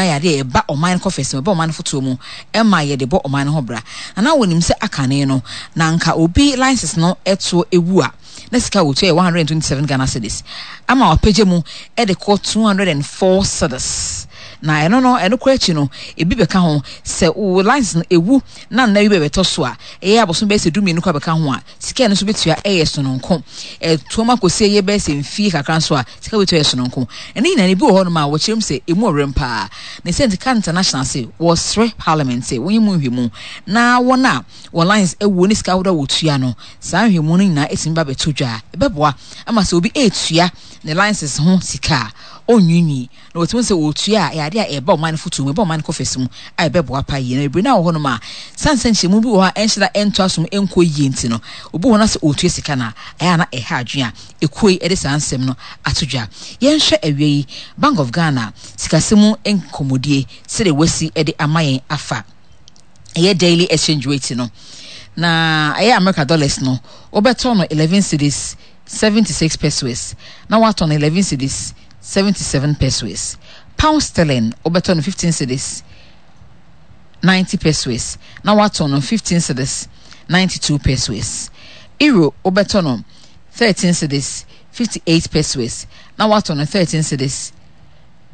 nyinaa yɛ adeɛ a ɛba ɔman no kɔfɛs mu, ɛba ɔman no fotoɔ mu ma yɛde bɔ ɔman no ho bra. Na na wɔnim sɛ akane no, na anka obi license no toɔ wu a, na sika a wɔtua yɛ 127 Ghana cedis, ama wɔapagya mu de kɔ 204 cedis. Na ɛno no, ɛno koraa akyi no, ebi bɛka ho sɛ wo license no ɛwu na nna bi bɛbɛtɔ so a, ɛyɛ abosom bɛyɛ sɛ 12 koraa bɛka ho a, Sika a ɛno nso bɛtua yɛ sononko. Ɛtoam akɔsi ɛyɛ bɛyɛ sɛ mfie kakra nso a, sika bɛtua yɛ sononko. Na ne nyinaa no, ebi wɔ hɔnom a wɔkyerɛ mu sɛ ɛmu ɔwerɛm paa. Ne sɛ nti, Card International se wɔsrɛ Parliament sɛ wɔnyɛ mu nhwɛmu na wɔn a wɔn lines awuo ne sika ahodoɔ a wɔtua no, saa nhwɛmu no nyinaa ɛtumi ba bɛtɔ dwa a, ɛbɛboa ama sɛ obi retua ne license ho sika a, ɔnnwiinwii. Na wɔtumi hu sɛ wɔretua a, ɛyɛ adeɛ a ɛba ɔman no fotoɔ mu, ɛba ɔman no kɔfɛs mu a ɛbɛboa paa yie. Na bebree no a wɔ hɔnom a, sane sɛ nkyerɛmu bi wɔ hɔ a ɛnhyɛ da ɛntɔ asom ɛnkɔ yie nti no, obi wɔ hɔ na sɛ ɔretua sika no a, ɛyɛ a na ɛha adwene a ekuo yi de saa nsɛm no ato dwa. Yɛnhwɛ awia yi Bank of Ghana sikasɛm mu nkɔmmɔdie sɛdeɛ wɔasi de ama yɛn afa ɛyɛ daily exchange rate no. Na ɛyɛ America dollars no, wobɛtɔ no 11 cedis 76 pesewas na woatɔ no 11 cedis 77 pesewas. Pound sterling, wobɛtɔ no 15 cedis 90 pesewas na woatɔ no 15 cedis 92 pesewas. Euro, wobɛtɔ no 13 cedis 58 pesewas na woatɔ no 13 cedis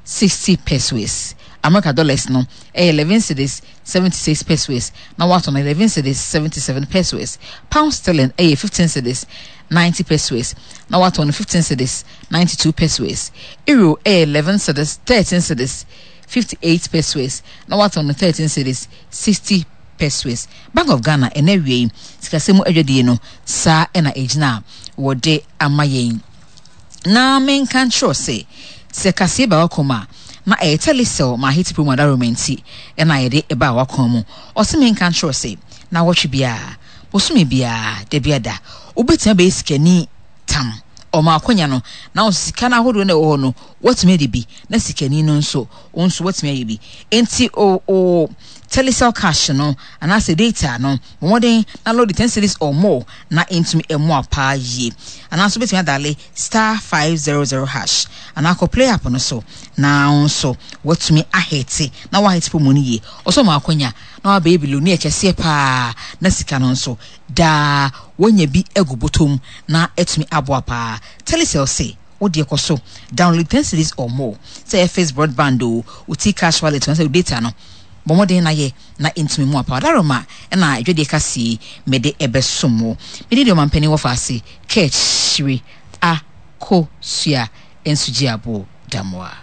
60 pesewas. America dollars no ɛyɛ 11 cedis 76 pesewas na woatɔ no 11 cedis 77 pesewas. Pound sterling ɛyɛ 15 cedis 90 pesewas na woatɔ no 15 cedis 92 pesewas. Euro ɛyɛ 11 cedis 13 cedis 58 pesewas na woatɔ no 13 cedis 60 pesewas. Bank of Ghana ɛnɛ awia yi sikasɛm mu adwadie no saa ɛna ɛgyina a wɔde ama yɛn. Na menka nkyerɛ wo sɛ, sɛ kaseɛ ba w'akwan mu a, na ɛyɛ Telecel ma Aheti Promo Adaworoma nti na yɛde baa w'akwan mu. Ɔse menka nkyerɛ wo sɛ, naawɔtwe biara, bosome biara, dabiada, wobɛtumi abɛyɛ sikani tam. Ɔma akwanya no, na wo nso sika no ahodoɔ no a ɛwɔ hɔ no, woatumi adi bi, na sikani no nso, wo nso woatumi ayɛ bi. Enti o, o Telecel cash no, anaasɛ data no, bɔ mmɔden na load 10 cedis or more na ɛntumi mmoa paa yie. Anaa nso wobɛtumi adale star 500 hash anaa kɔ play app no so na wo nso woatumi ahete na woahete promo no yie. Ɔsɛ ɔma akwanya na wabɛyɛ billionaire kɛseɛ paa na sika no nso daa woanya bi agu bɔtɔ mu na atumi aboa paa. Telecel se wo deɛ kɔ so download 10 cedis or more sɛ ɛyɛ fixed broadband o, wo T-Cash wallet o anaasɛ wo data no. Bɔ mmɔden na yɛ na ɛntumi mu apaw. Adaworoma na dwadie kaseɛ yi mede ɛbɛsom wo. Me din de Ɔmampanin Wɔfaase Kaakyire Akosua Nsugyeaboɔ Damoah.